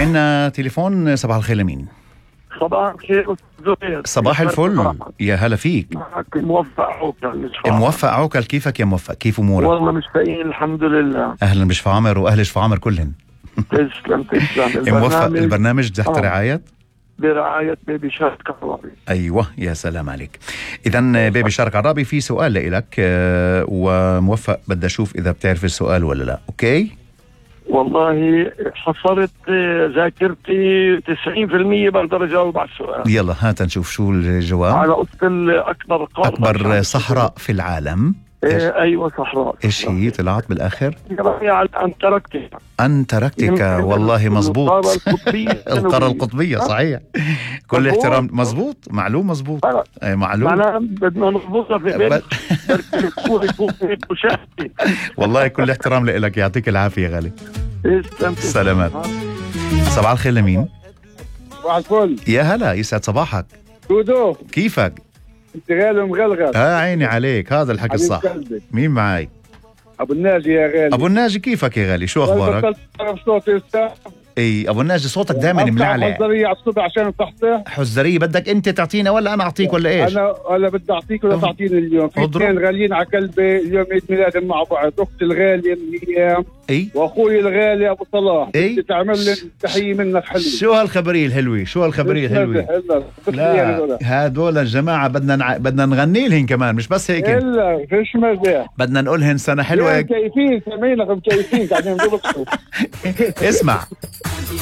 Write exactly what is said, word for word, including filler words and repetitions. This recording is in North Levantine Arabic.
عنا تليفون. صباح الخير لمين؟ صباح الخير زهير. صباح الفل، يا هلا فيك. معك موفق عوكل. موفق عوكل، كيفك يا موفق؟ كيف امورك؟ والله مشتاقين الحمد لله. اهلا بشفا عمر واهل شفا عمر كلهن. تسلم تسلم. موفق. البرنامج تحت آه. رعاية برعاية بيبي شارك عرابي. ايوه يا سلام عليك. اذا بيبي شارك عرابي في سؤال لإلك، آه وموفق بدي اشوف اذا بتعرف السؤال ولا لا. اوكي والله حصلت ذاكرتي تسعين بالمية بقدر اجاوب على السؤال. يلا هات نشوف شو الجواب. على قصة اكبر قارة، اكبر صحراء في العالم. إيه ايوه صحراء. ايش هي طلعت بالاخر؟ على انتاركتيكا. انتاركتيكا والله مزبوط. القارة القطبية. القارة القطبية صحيح. كل احترام. مزبوط معلوم مزبوط. اي معلوم. معناها بدنا نضبطها في بيت. والله كل احترام لك، يعطيك العافية غالي. سلامات. صباح الخير لمين؟ صباح الفل. يا هلا، يسعد صباحك. دودو كيفك؟ انت غالي ومغلغل. ها عيني عليك، هذا الحكي الصح. مين معي؟ ابو الناجي يا غالي. ابو الناجي كيفك يا غالي؟ شو اخبارك؟ اي ابو الناجي صوتك دائما ملعلع. حزرية على الصبح عشان تصحصح. حزرية بدك انت تعطينا ولا انا اعطيك ولا ايش؟ انا ولا بدي اعطيك ولا تعطيني اليوم. في اثنين غاليين على قلبي اليوم، عيد ميلادهم مع بعض. اختي الغالية ايام اي واخوي الغالي ابو صلاح. اي تعمل لي تحية منك حلوة. شو هالخبرية الحلوة؟ شو هالخبرية الحلوة؟ لا هدول الجماعة بدنا نع... بدنا نغني لهم كمان، مش بس هيك. الا فيش مزاح. بدنا نقولهن سنة حلوة. مكيفين سمينا مكيفين قاعدين نضبط. اسمع